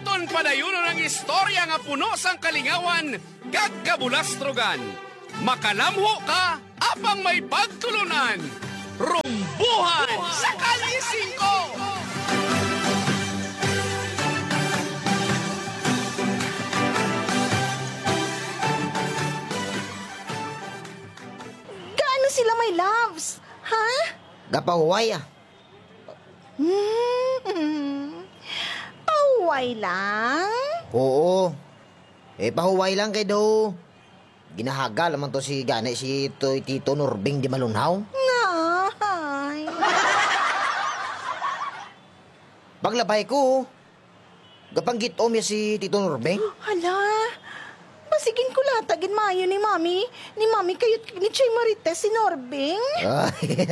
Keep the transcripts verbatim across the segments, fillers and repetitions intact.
Aton padayunon ang istorya nga puno sang kalingawan kag kabulastrogan. Makalamho ka apang may pagtulon-an. Rumbuhan sa Kalye Singko! Gaano sila, my loves? Ha? Gapahuway, ah. Mm. Pahuway lang? Oo. Eh, pahuway lang kay daw ginahagal naman to si gani si Toy Tito Norbing di malunhaw. Ngay. Paglabay ko, gapanggit-om niya si Tito Norbing. Hala, basigin ko lata gid maayo ni Mami, ni Mami kayot ni Chay Marites si Norbing. Ay.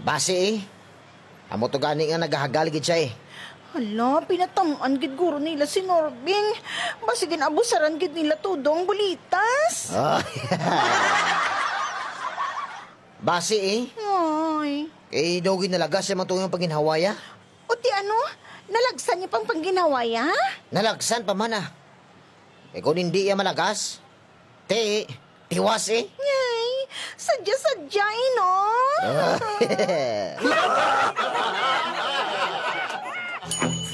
Basi eh. Amo to gani nga nagahagal gid siya eh. Hala, pinatam-an gid guro nila si Norbing. Basigin abusaran gid nila todo ang bulitas. Ay. Basi eh. Ay. Kay daw ginalagas siya man to yung pagginhawaya. O ti ano? Nalagsan niya pang pangginhawaya? Nalagsan pa man ah. Eh kung hindi iya malagas, ti, tiwas eh. Ngay, sadya-sadya eh, no? Ah.